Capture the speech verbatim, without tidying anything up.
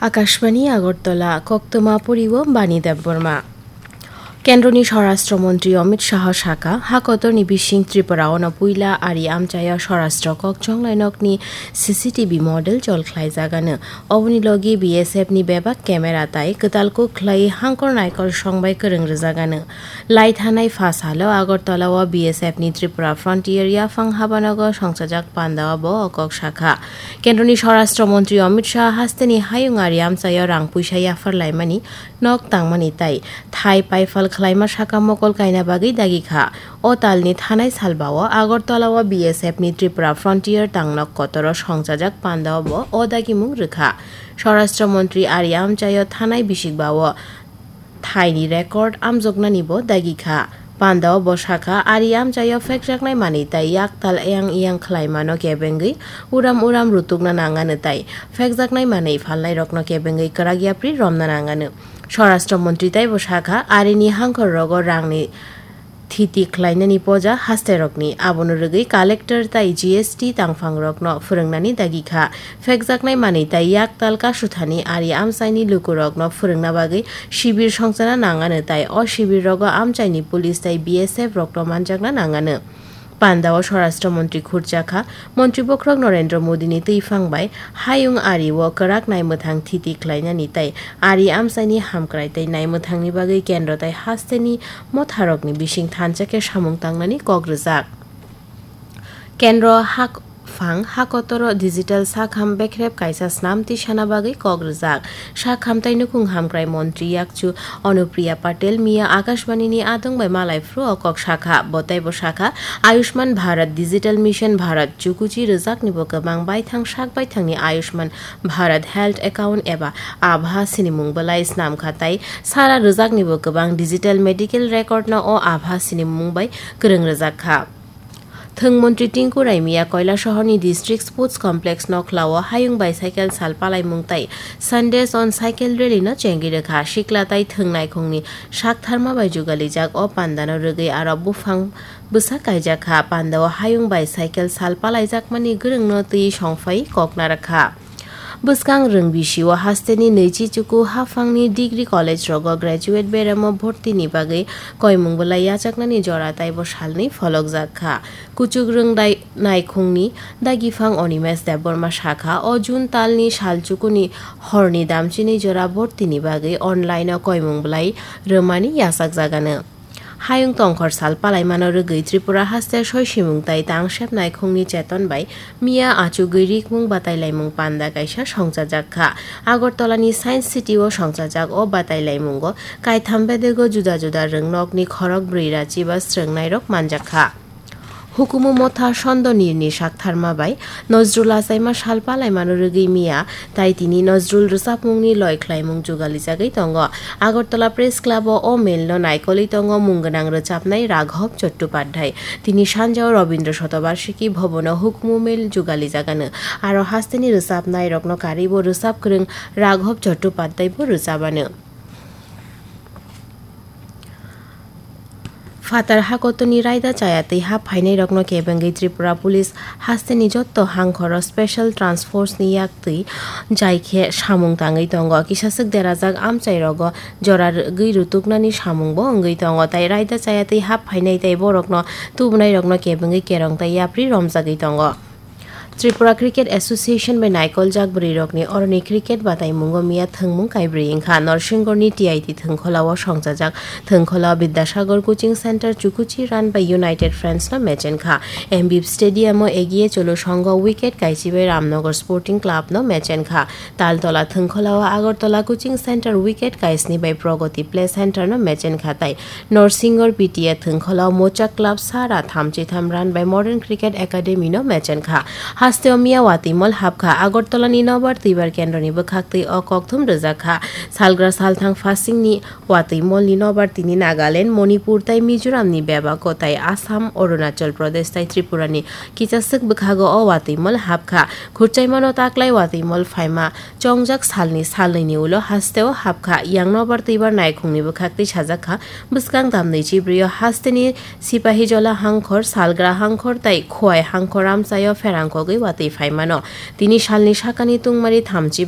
Akashbani Agartala, koktwma poriwo Bani Debbarma. Kendroni Swarashtra Montri Amit Shah sakha, ha kotorni bising Tripura ono puila ari amchaio Swarashtra kok chonglai nokni C C T V model jol khlaijagano. Oboni logi B S F ni bebak camera tai kwtal kuk khlai hangkor naikol songbai kwrwng rwjagano. Lai thanai pha salo Agartala o B S F ni Tripura Frontier yaphang habanogo songchajak pandao bo o kok sakha. Kendroni Swarashtra Montri Amit Shah hasteni hayung ari amchaio rang puisa yaphar laimani nok tangmani tai thai paifal khlaima saka mokol kaina bagwi dagi kha. O talni thanai salbao Agartala o B S F ni Tripura Frontier tangnok kotoro songchajak pandao bo o dagimung rwkha. Swarashtra Montri ari amchaio thanai bisikbao thaini record amjoknani bo dagi kha. Pandao bo sakha, ari amchaio phekjaknai manwi tai yaktal eyang eyang khlaimano kebengwi uram uram rutukna nangano tai phekjaknai manwi phalnairokno kebengwi kwrak yapri romna nangano. Swarashtra Montri taibo sakha, arini hangkhor rogo rangni thiti khlainani poja hasterokni, abono rwgwi collector tai G S T tangphangrokno phwrwngnani dagi kha. Phekjaknai manwi tai yaktal kasuthani ari amchaini lukurokno phwrwngna bagwi shibir songchana nangano tai o shibir rogo amchaini police tai B S F rokno manjakna nangano. Pandao Swarashtra Montri khurjakha, Montri bokhorok Narendra Modini twiphang bai hayung ari o kwrak naimwthang thiti khlainani tai ari amchaini hamkrai tai naimwthangni bagwi kendro tai hasteni motharokni bising thansa khe samung tangnani kok rwjak. Kendro hak phang hakotoro digital sakham bekrep kaisa snam tisana bagwi kok rwjak. Sakham tai nukhung hamkrai montri yakchu Anupriya Patel miya Akashbani ni adong bai malai phuru o kok sakha. Bo taibo sakha, Ayushman Bharat Digital Mission Bharat chukuchi rwjakni bo kwbang baithang sak baithangni Ayushman Bharat Health Account eba Abha sinimung belai snam kha tai sara rwjakni bo kwbang digital medical record no o Abha sinimung bai kwrwng rwjak kha. Thwng montri Tinku Raimia Koilasahar ni District Sports Complex Nokhla o hayung bicycle sal palaimung tai Sundays on Cycle Rally no chengwi rwkha. Sikla tai thwng naikhung ni saktharma bai jugalijak o panda no rwgwi aro buphang bwsa kaijak kha. Panda o hayung bicycle sal palaijakmani gwrwng no twi songphai kokna rwkha. Bwskang rwng bisio hasteni nwichi chuku haphangni degree college rogo graduate beremo bhortini bagwi koimung belai yachaknani jora taibo salnwi pholokjak kha. Kuchuk rwng dai-, naikhungni dagiphang Animesh Debbarma sakha, o June talni sal chukuni horni damchini jora bhortini bagwi online-o koimung belai rwmani yachakjagano. Hayung tongkhor sal palaimano rwgwi Tripura haste soisimung tai tangsep naikhungni cheton bai miya achugwi rikmung batailaimung panda kaisa songchajak kha. Agartala ni Science City o songchajak o batailaimungo kaitham bedego juda juda rwngnokni khorok brwi rachiba srwngnairok manjak kha. Hukumu motha Sondo Nirni saktharma bai Nojrul achaima sal palaimano rwgwi miya, tai tini Nojrul rwchapmungni loi khlaimung jugalijagwi tongo. Agartala Press Club o o mel no naikolwi tongo mung gwnang rwchapnai Raghav Chattopadhyay. Tini sanjao Rabindra Shatabarshiki Bhavan o hukumu mel jugalijagano. Aro hasteni rwchapnai rokno karwi bo rwchap kwrwng Raghav Chattopadhyay bo rwchapano. Phatar hakotoni raida chaya twi hap phainairokno kebengwi Tripura Police hasteni jotto hangkhoro Special Task Force ni yak twi jai khe samung tangwi tongo. Kisaswk derajak amchairogo jora rwgwi rutuknani samungbo wngwi tongo, tai raida chaya twi hap phainai tai borokno tubunairokno kebengwi kerong tai yapri romjagwi tongo. Tripura Cricket Association bai naikoljak bwrwirokni oroni cricket bataimungo miya thwngmung kaibrwi wngkha. Norsingorni T I T thwngkholao songchajak thwngkholao Bidyasagar Coaching Centre Chukuchi run by United Friends no match wngkha. M B Stadium o Egiye Cholo Songho wicket kaichi bai Ramnagar Sporting Club no match wngkha. Taltola thwngkholao Agartala Coaching Centre wicket kaisni bai Pragati Play Centre no match wngkha tai Norsingor P T A thwngkholao Mocha Club sara thamchi tham run by Modern Cricket Academy no match wngkha. Hasteo miya watwi mol hapkha. Agartala ni nobar twibar kendroni bwkhaktwi o kokthum rwjakha. Salgra salthang phasingni watwi molni nobar tini Nagaland, Manipur tai Mizoram ni bebak kotai Assam, Arunachal Pradesh tai Tripura ni kichaswk bwkhago o watwi mol hapkha. Khurchaimano taklai watwi mol phaima chongjak salni salnwini ulo hasteo hapkha. Yang nobar twibar naikhungni bwkhaktwi sajakha, bwskang damnwi chibrio hasteni Sipahijola hangkhor, Salgra hangkhor tai Khowai hangkhor amchaio pherangkogwi watwi phaimano. Tini salni sakani tungmari thamchi